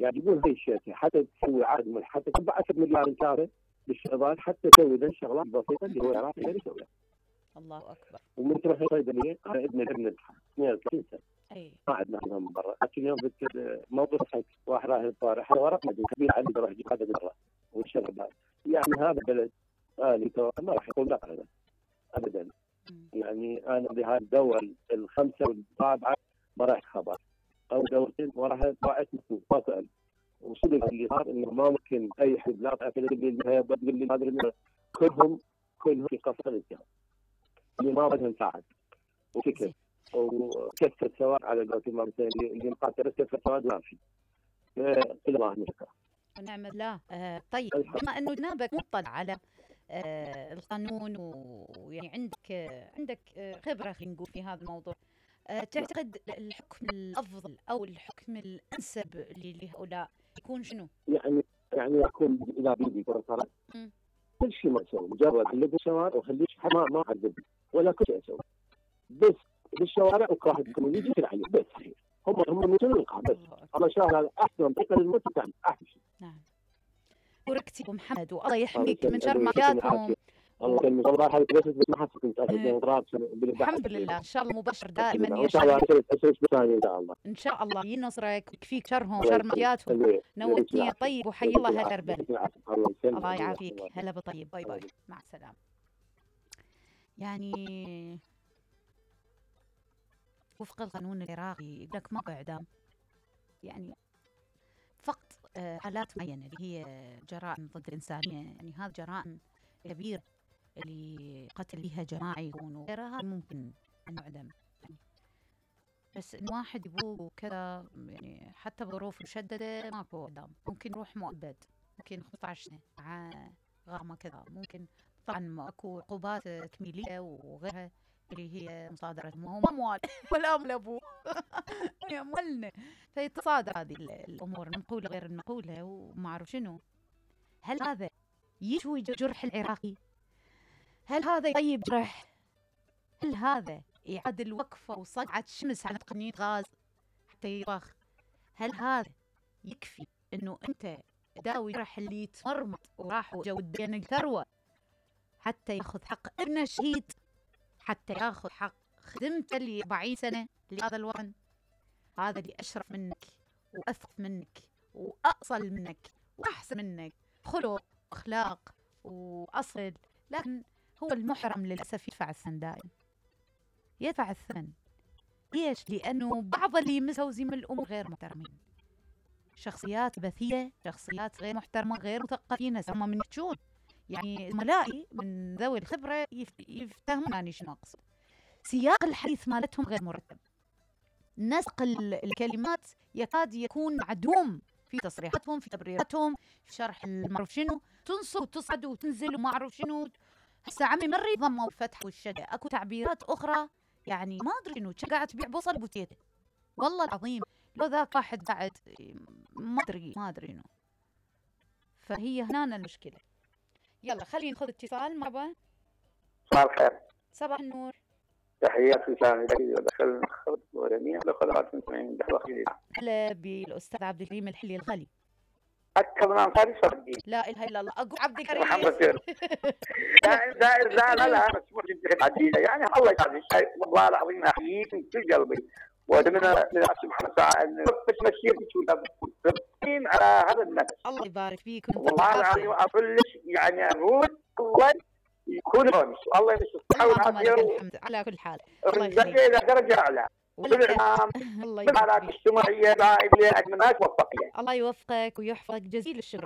قاعد يقول هاي الشركه حتى تسوي عقد حتى تدفع 10 مليار انكاره بالشغلات حتى تسوي ذا الشغلات البسيطه اللي هو العراقي غير يسويها. الله اكبر. ومن تروح الصيدليه انا ابن 32 سنه اي ما عندنا حدا من برا، لكن يوم موضوع صحيح واحد راح الطارئ حتى ورقنا كبير علي بروح اجيب هذا برا والشغل يعني هذا بلد آلي ما راح يقول لا ابدا. يعني انا بهذه الدول الخمسه والرابعه ما راح خبر او دولتين وراح ضاعت مسؤول وصدق اللي صار انه ما ممكن اي حد لا تقول لي هذا كلهم في قصر الاتهام اللي ما بدهم نساعد وفكر وكسر سواء على قولتهم اللي مقاتل كسر سواء ما في الله نشكره ونعم بالله. طيب بما انه جنابك مطلع على القانون ويعني عندك خبره خلينا نقول في هذا الموضوع، تعتقد الحكم الافضل او الحكم الانسب لهؤلاء يكون شنو؟ يعني يكون اذا بيدي كره قدم كل شيء ما اسوي مجرد احلق الشوارع وخليش ما اعذب ولا كل شيء اسوي بس بالشوارع وكراهه يكون يجي عليه بس صحيح هم يموتون القاع بس الله شاء هذا احسن طريقه للموت يعني احسن شيء. نعم وركتي ابو محمد والله يحميك من شر مافياتهم. الله يسلمك والله هاي بس ما حسيت كنت الحمد لله ان شاء الله مبشر دائما ان شاء الله ان شاء الله ان شاء الله ينصرك ويكفيك شرهم وشر مافياتهم. نوتني طيب وحي الله هالاربل. الله يعافيك. هلا بطيب. باي باي مع السلامه. يعني وفق القانون العراقي يقول لك ماكو اعدام، يعني فقط حالات معينه اللي هي جرائم ضد الانسانيه، يعني هذه جرائم كبيره اللي قتل بها جماعي يكون وغيرها ممكن ان يعدم يعني. بس ان واحد يبوق وكذا يعني حتى بظروف مشدده ماكو اعدام، ممكن يروح مؤبد، ممكن 15 سنه مع غرامه كذا، ممكن طبعا ماكو عقوبات تكميليه وغيرها اللي هي مصادرة ما هو أموال ولا أمل أبوه يا أموالنا. فيتصادر هذه الأمور المقولة غير المقولة وما أعرف شنو. هل هذا يشوي جرح العراقي؟ هل هذا يطيب جرح؟ هل هذا يعاد الوقفة وصقعة شمس على تقنية غاز حتى يضخ؟ هل هذا يكفي إنه أنت داوي جرح اللي يتمرمط وراح وجو الدين الثروة حتى ياخذ حق ابنه الشهيد، حتى ياخذ حق خدمته اللي 40 سنه لهذا الوطن، هذا اللي اشرف منك واثق منك واصل منك واحسن منك خلق واخلاق واصل، لكن هو المحرم للاسف يدفع الثمن دائما، يدفع الثمن. ليش؟ لانه بعض اللي مسوزين من الامور غير محترمين، شخصيات بثيه، شخصيات غير محترمه، غير مثقفين، هم من يحجون يعني زملائي من ذوي الخبرة يفتهمونني شنو أقصد. سياق الحديث مالتهم غير مرتب، نسق الكلمات يكاد يكون معدوم في تصريحاتهم، في تبريراتهم، في شرح المعروف شنو، تنصب وتصعد وتنزل وما أعرف شنو. هسه عمي مري ضمه والفتح والشدة، أكو تعبيرات أخرى يعني ما أدري شنو، قاعد تبيع بصل بوتيته والله العظيم، لو ذاك واحد قاعد ما أدري شنو. فهي هنا المشكلة. يلا خلينا ناخذ اتصال. مرحبا. صباح الخير. صباح النور. تحياتي سامي دخل خلط ورمية لخدمات المستمعين دحوة. هلا بالأستاذ عبد الكريم الحلي الغالي. أكثر من أنصاري صدقي. لا إله إلا الله. أقول عبد الكريم. محمد خير. لا بس مو جد عديدة يعني الله يسعدك والله العظيم أحييك من كل قلبي. وأتمنى من سبحانه وتعالى بس مسيرتك تبقين على هذا النفس. الله يبارك فيك. والله العظيم أفلش يعني أقول الله يكون رمز الله يمسك الصحة والعافية على كل حال. الله يخليك. إلى درجة أعلى. والإعلام والحالات الاجتماعية لا أتمنى توفقك. الله يوفقك ويحفظك. جزيل الشكر.